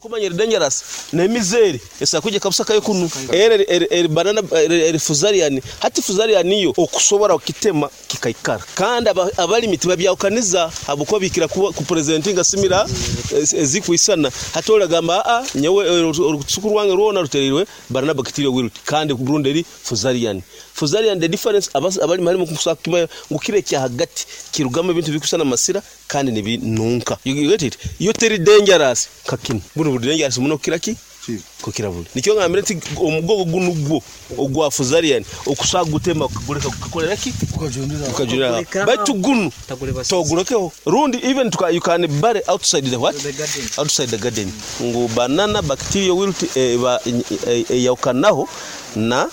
Okumanya eri dangerous n'emizi eri esobola kwija ekabusa kunu. Eri eri banana eri fuzarian hati fuzarian yo okusobora kukitema kikaikara kandi abalimi tibabyahukaniza habwokuba bikira kupresentinga similar ezikwisana hati oli agamba aa nyowe orusuku rwange rwona rutereirwe banana bacterial wilt kandi rundi eri fuzarian. Fuzarian the difference abalimi halimu kusobora kukimanya ngu kiri ekyahagati kirugamu ebintu ebikwisana amasira kandi nibinunka. You get it? Yo teri dangerous nka kinu. Bunu buri dangerous muno kukira ki? Kukira buli. Nikyo ngambire nti omugogo gunu gwo ogwa Fusarian okusobola kugutema okaguleka gukakolera ki? Gukajunira aho. Baitu gunu togulekeho. Rundi even you can bury outside the what? Outside the garden. Ngu banana bacterial wilt eba eyahukanaho na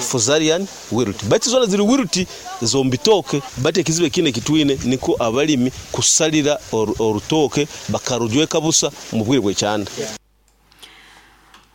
Fusarian wilt. Baitu zona ziri wilt z'omu bitooke. Baitu ekizibu ekindi eki twine nikwo abalimi kusalira orutooke bakarujweka busa omu bwire bw'ekyanda.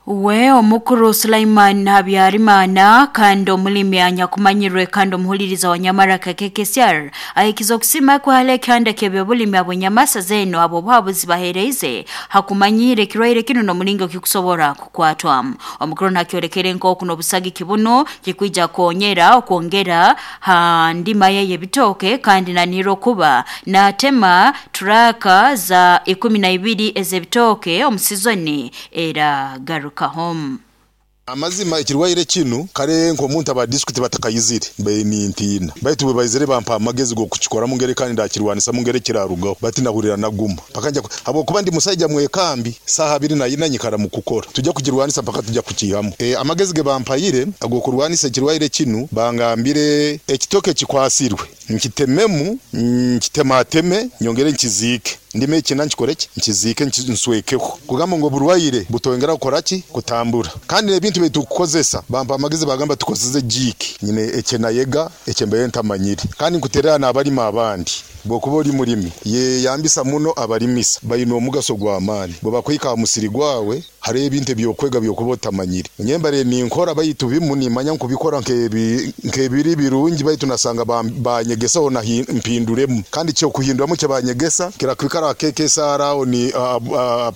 We omukuru Sulaiman Habyarimana kandi omulimi anyakumanyirwe kandi omuhuliriza wa Nyamaraka KKCR ahikize okusima kwe hali ekihanda ky'ebyobulimi ab'enyamasa zeno ab'obuhabuzi bahereize hakumanyire ekirwaire kinu n'omulingo kikusobora kukwatwamu. Omukuru nakyolekere nk'oku n'obusagiki buno kikwija konyera okwongera ha ndima ye y'ebitooke kandi nanihira okuba natema turaka za 12 ez'ebitooke omu sizoni eragaruka. Amazima ekirwaire kinu kare nk'omuntu aba disitulikiti batakayizire mbaire nintiina baitu bwe baizire bampa amagezi g'okukikoramu ngeri kandi ndakirwanisa ngeri kirarugaho bati nahurira naguma mpaka nja habwokuba ndi musaija mwekambi saaha 24 nyikara mu kukora tujja kugirwanisa mpaka tujja kukihamu. Amagezi ge bampayire ag'okurwanisa ekirwaire kinu bangambire ekitoke kikwasirwe nkitememu nkitemateme nyongere nkiziike ndime ekina nkikoreki nkiziike nswekeho kugamba ngu oburwaire butongera kukoraki kutambura kandi ebintu bitukukozesa bampa amagezi bagamba tukozeze jiki nyine ekyenayega ekyembaye ntamanyire kandi nkuterera n'abalimi abandi bwokuba oli mulimi yeyambisa muno abalimisa bayina omugaso gw'amaani bwe bakwika aha musiri gwawe hariho ebintu ebyokwega byokuba otamanyire nyembare ninkora baitu bimu nimanya nkubikora nk'ebiri birungi baitu nasanga banyegesaho mpinduremu kandi kyokuhinduramu kyabanyegesa kirakwikara KKSR aho ni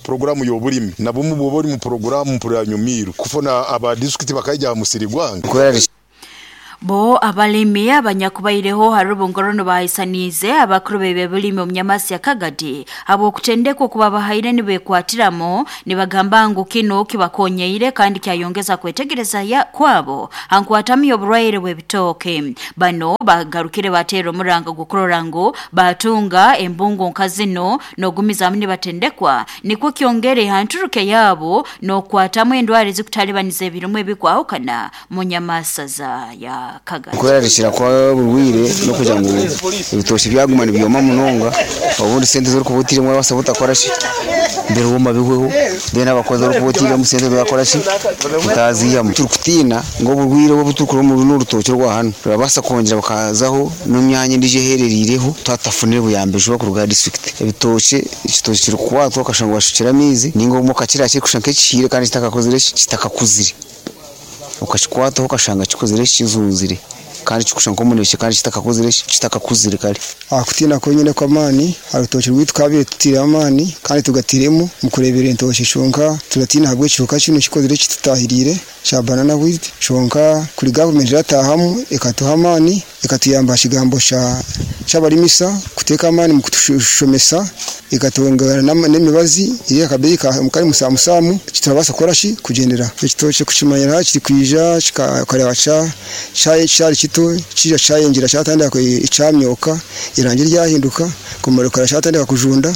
programu y'obulimi nabumu bwoba oli mu programu mpurira nyumiru kufuna aba district bakaija aha musiri gwange. Bo abalimi abanyakubaireho harubungorono bahaisaniize abakuru b'ebyobulimi omu Nyamasi ya Kagadi habw'okutendekwa okuba bahaire nibekwatiramo nibagamba ngu kinu kibakonyeire kandi kyayongeza kwetegereza kwabo hankwatamu y'oburwaire bw'ebitooke. Bano bagarukire bateera omuranga gw'okurora ngu batunga embungo nka zino n'ogumizaamu nibatendekwa nikwo kyongere hanturuke yaabo n'okukwatamu endwara ezikutalibaniza ebirimu ebikwahukana mu Nyamasaza ya Kagadi. Kwerarikira kwa burwire n'okugira ngu ebitooki byaguma nibyoma munonga obundi sente z'orikuba otiiremu orabasa butakora ki birihuma bihweho then abakozi orikuba otiiremu sente bakora ki utaziihamu. Turikutiina ngu oburwire obu obuturikuroora omu runo orutookye rwa hanu rurabaasa kwongyera bukazaho n'emyanya endiijo ehereriireho twatafunire buyambi juba kuruga aha disitulikiti. Ebitookye ekitookye kirikukwatwa okashanga washukire amaizi ninga obumwe okakirya kirikusha nk'ekihiire kandi kitakakozire ki kitakakuzire. Okakikwataho okashanga kikozire kizunzire kandi kikusha nk'omunekye kandi kitakakozire kitakakuzire kare. Kutiina kwenyine kw'amaani aha rutookye rwaitu twabire tutiire amaani kandi tugatiremu mu kureebera entookye kyonka turatiina ahabw'ekihuka kinu kikozire kitutahiriire kya banana wilt kyonka kuri gavumenti eratahamu ekatuha amaani ekatuyamba aha kigambo ky'abarimisa kuteeka amaani mu kutushomesa ekatwongera n'emibazi eri akabeeyi kari musamusamu turabaasa kukora ki kugyendera. Ekitookye kukimanyira kirikwija kikareeba kyari kito kija kyayongyera kyatandika kyamyoka erangi ryahinduka kumara kyatandika kujunda.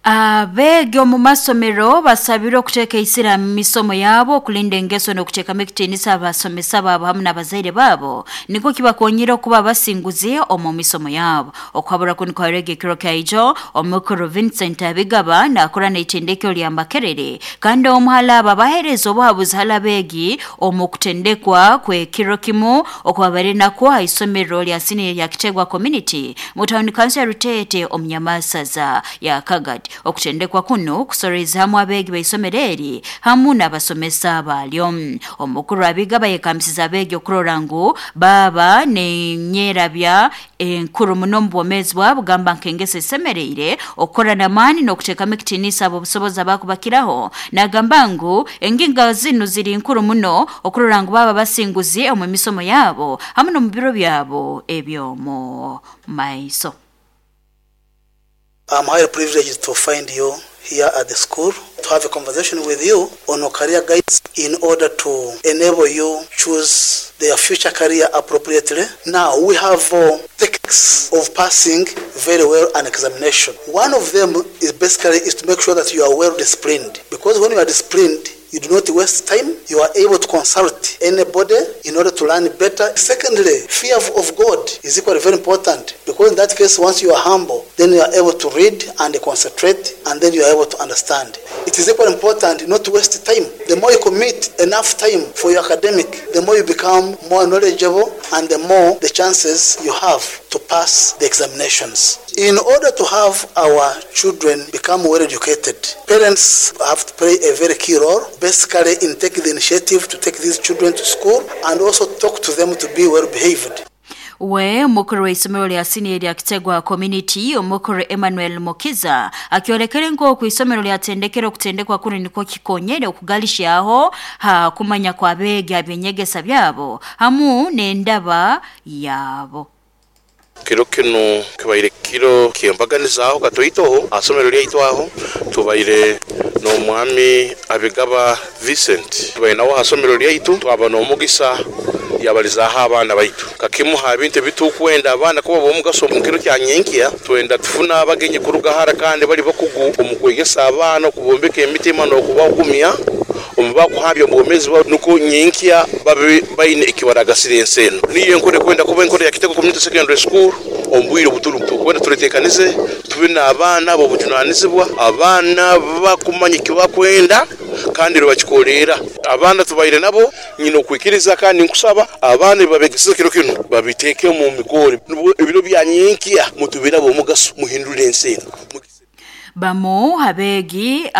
Abeegi omu masomero basabirwe okuteeka eisira mu misomo yaabo okulinda engeso n'okuteekamu ekitiinisa abasomesa baabo hamu n'abazaire baabo nikwo kibakonyire okuba abasinguzi omu misomo yaabo. Okuhabura kunu kwaherege ekiro kyaijo omukuru Vincent Abigaba naakora n'eitendekero lya Makerere kandi omuhala abo abaheereza obuhabuzi hali abeegi omu kutendekwa kw'ekiro kimu okubabaire nakwo ha isomero lya siniya lya Kitegwa Community mu tawuni kanso ya Ruteete omu Nyamasaza ya Kagadi. Okutendekwa kuno kusoreza hamu abeegi b'isomero eri hamu n'abasomesa balyo. Omukuru Abigaba yekambisiza abeegi okurora ngu baba nenyerabya enkuru muno mu bwomeezi bwabo, gamba nk'engeso esemereire okukora n'amaani n'okuteekamu ekitiinisa ab'obusobozi abakubakiraho. Nagamba ngu engingo zinu ziri nkuru muno okurora ngu baba basinguzi omu misomo yabo hamu n'omu biro byabo eby'omu maiso. I'm highly privileged to find you here at the school to have a conversation with you on career guidance in order to enable you choose their future career appropriately. Now, we have techniques of passing very well an examination. One of them is basically is to make sure that you are well disciplined, because when you are disciplined, you do not waste time. You are able to consult anybody in order to learn better. Secondly, fear of God is equally very important, because in that case, once you are humble, then you are able to read and concentrate, and then you are able to understand. It is equally important not to waste time. The more you commit enough time for your academic, the more you become more knowledgeable and the more the chances you have to pass the examinations. In order to have our children become well educated, parents have to play a very key role, basically in taking the initiative to take these children to school and also talk to them to be well behaved. We omukuru w'isomero lya siniya lya Kitegwa Community omukuru Emmanuel Mukiza akiolekere nk'oku isomero lyatendekere okutendekwa kuno nikwo kikonyere okugalishaho ha kumanya kw'abeegi ab'enyegesa byabo hamu n'endaba yabo. Kiro kino kibaire kiro kyembaganizaho katoitoho asomero lyaitwaho tubaire n'omwami Abigaba Vincent, tubaire nawo asomero lyaitu twaba n'omugisa yabalizaho abaana baitu kakimuha ebintu ebitukwenda abaana kuba b'omugaso mu kiro kya nyenkya. Twenda tufuna abagenyi kuruga hara kandi bali bakugu omu kwegesa abaana okubombeka emitima n'okubagumya omu bakuhabya obwomeezi bwabo nuko nyenkya babe baine ekibaragasira ensi eno. Niyo enkora ekwenda kuba enkora ya Kitego Community Secondary School omu bwire obuturi tukwenda tureteekanize tube n'abaana b'obujunanizibwa, abaana bakumanya ekibakwenda kandi bakikolera. Abaana tubaire nabo nyina okwikiriza kandi nkusaba abaana babegesize kiro kino babiteeke mu mikoro ebiro bya nyenkya mutubere ab'omugaso muhindure ensi eno. Bamu abeegi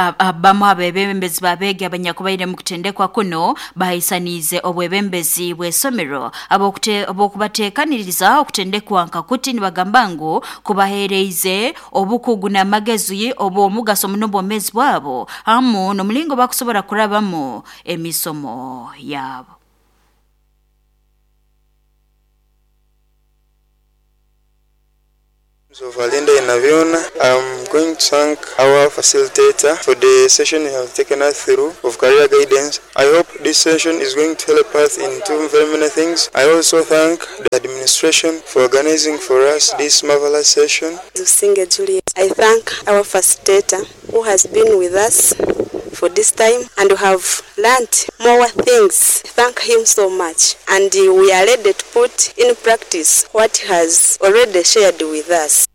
bamu abebembezi babeegi abanyakubaire mu kutendekwa kuno bahaisaniize obwebembezi bw'esomero abokubateekaniriza okutendekwa nkakuti nibagamba ngu kubaheereize obukugu n'amagezi obw'omugaso muno obwomeezi bwabo hamu n'omulingo bakusobora kurabamu emisomo yabo. So Valinda Inaviona, I'm going to thank our facilitator for the session you have taken us through of career guidance. I hope this session is going to help us in two very many things. I also thank the administration for organizing for us this marvelous session. Zusinge Juliet, I thank our facilitator who has been with us for this time and we have learned more things. Thank him so much, and we are ready to put in practice what he has already shared with us.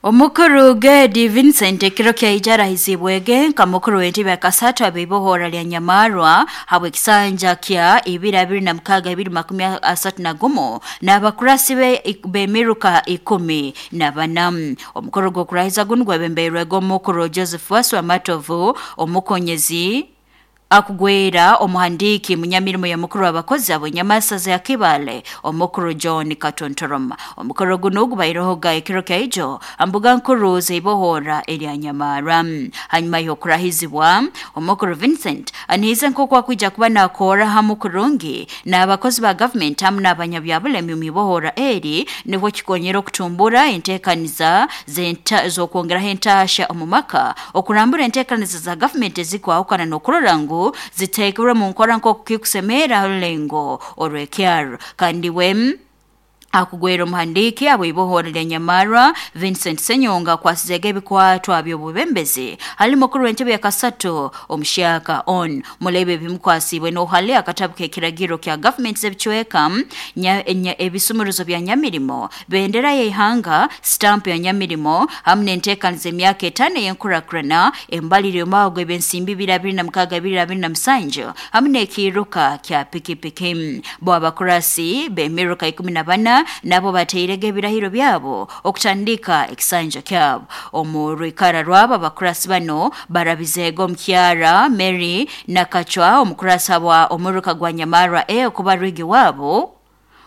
Omukuru Gedi Vincent ekiro kyaija arahizibwege nka mukuru w'entebe akasatu ab'ibohora lya Nyamarwa habwe kisanja kya 2026 2031 n'abakurasi be b'emiruka 14. Omukuru gw'okurahiza gunu gwebembeirwege omukuru Joseph Waswa Matovu, omukonyezi akugwera omuhandiki munyamirimo ya mukuru w'abakozi abo Nyamasaza ya Kibale omukuru John Katontoroma. Omukuru guno gubairohoga ekiro kyaijo ambuga nkuru zeibohora erya Nyamara. Hanyuma y'okurahizibwa omukuru Vincent anihize nk'oku akwija kuba nakora hamu kurungi n'abakozi ba government hamu n'abanyabyabulemi mu ibohora eri nibwo kikonyera okutumbura enteekaniza z'okwongeraho entasha omu maka, okurambura enteekaniza za government ezikwahukana n'okurora ngu ziteekebwe mu nkora nk'oku kikusemera rulengo orw'ekyaro. Kandi we akugwera omuhandiki abw'ibohora lya Nyamarwa Vincent Senyonga akwasizege ebikwatwa by'obubembezi hali mukuru w'entebe ya kasatu omushaka on mulebe ebimukwasibwe n'ohali akatabu k'ekiragiro kya government z'ebicweka ebisumuruzo bya Nyamirimo, bendera y'ihanga, stamp ya Nyamirimo hamu n'enteekaniza emyaka 5 ey'enkurakurana, embalire y'omwago eb'ensimbi 2026 2027 hamu n'ekiruka kya pikipiki. Bo abakurasi b'emiruka 14 Taina nabo bateirege ebirahiro byabo okutandika ekisanja kyabo. Omu rwikara rwabo abakurasi bano barabizego omukyara Mary Nakachwa omukurasa wa omuruka gwa Nyamarwa e okuba rwigi wabo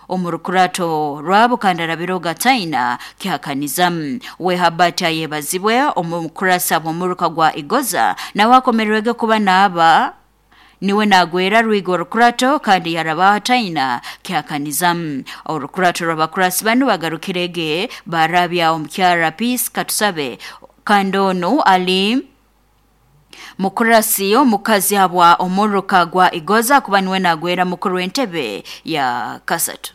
omurukurato rwabo kandi arabiroga Taina kihakanizamu. We Habati ayebazibwe omukurasa bw'omuruka gwa Igoza nawe akomerwege kuba naaba niwe nagwera rwigo orukurato kandi yarabaho Taina kihakanizamu. Orukurato rw'abakurasi banu bagarukirege barabya omukyara Peace Katusabe kandi onu ali mukurasi omukazi habwa omuruka gwa Igoza kuba niwe nagwera mukuru w'entebe ya kasatu.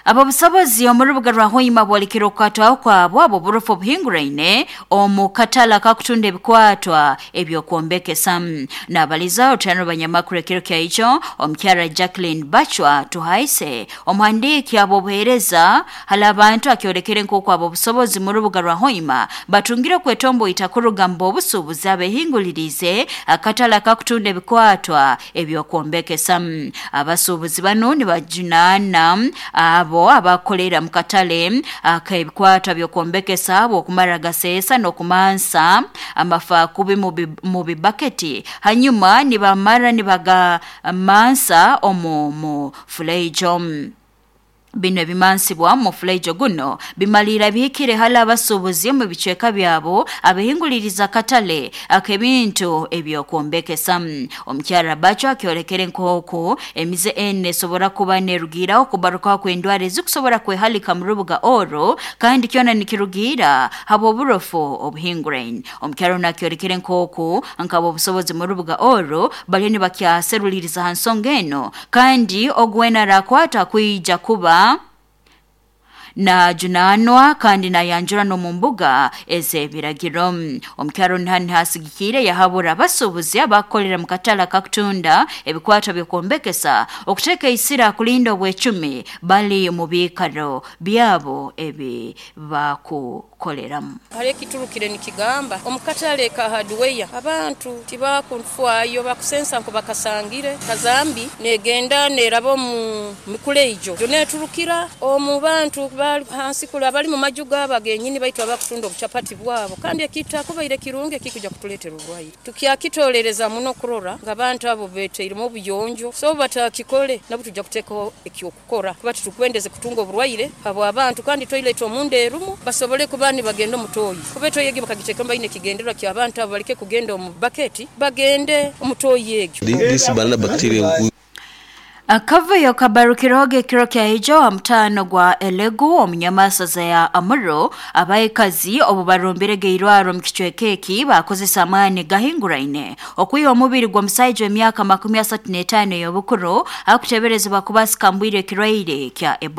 Abo busobozi omurubuga rwa Hoima bwolikira okukwatwaho kwabo abo burufu obuhinguraine omu katala kakutunda ebikwatwa ebyokwombekesa. Nabaliza otano banyamakuru ekiro kyaicho omukyara Jacqueline Bachwa Tuhaise omuhandiiki abo obuheereza hali abantu akyolekere nk'oku abo obusobozi mu rubuga rwa Hoima batungire okwetomboita kuruga mu obusuubuzi abehingulirize akatala kakutunda ebikwatwa ebyokwombekesa. Abasuubuzi bano nibajunaana abo abakolera mu katale ak'ebikwatwa by'okwombekesa okumara gaseesa n'okumansa amafakubi mu bibaketi hanyuma nibamara nibagamansa omu mufuleijo. Bino ebimansibwa mu fuleijo guno bimalira bihikire hali abasuubuzi mu bicweka byabo abehinguliriza katale ak'ebintu ebyokwombekesa. Omukyara Bacho akyolekere nk'oku emize ene esobora kuba nerugiiraho okubarukaho kw'endwara ezikusobora kwehalika mu rubuga orwo kandi kyona nikirugiira habw'oburofu obuhinguraine. Omukyara ono akyolekere nk'oku nkabo obusobozi mu rubuga orwo bariyo nibakyaseruliriza ha nsonga eno kandi ogwena arakwata kwija kuba najunanwa kandi nayanjura n'omu mbuga ez'ebiragiro. Omukyaro nihani hasigikire yahabura abasuubuzi abakukolera mu katale akakutunda ebikwatwa by'okwombekesa okuteeka isira kulinda obwecumi bali mu biikaro byabo ebi bakukoleramu. Hali ekiturukire nikigamba omukatale ka hardware abantu tibakunfwayo bakusensa nko bakasangire kazambi negenda neraba omu mikuleijo neturukira omu bantu bali hansi kula bali mu majuga abagenyini baitu abakutunda obuchapati bwabo kandi ekita kubaire kirunge kikuja kutuletera obulwaire. Tukyakitolereza muno kurora ng'abantu abo beteiremu obuyonjo so batakikole nabo tujja kuteekaho ekyokukora kuba titukwendeze kutunga oburwaire abo abantu kandi toilet omunda erumu basobole kuba nibagenda omutoyi kuba etoyi egi bakagiteeka baine ekigendererwa ky'abantu abo baleke kugenda omu baketi bagende omutoyi egyo. This banana bacteria. Akavuyo kabarukiroge ekiro kya ijo ha mutano gwa Elegu omunyamasaza ya Amuro abaikazi obu barumbirege irwaro mu kicweka eki bakozesa amaani gahinguraine okwiha omubiri gw'omusaija w'emyaka 35 ey'obukuru akuteberezebwa kuba asikambwire ekirwaire kya Ebola.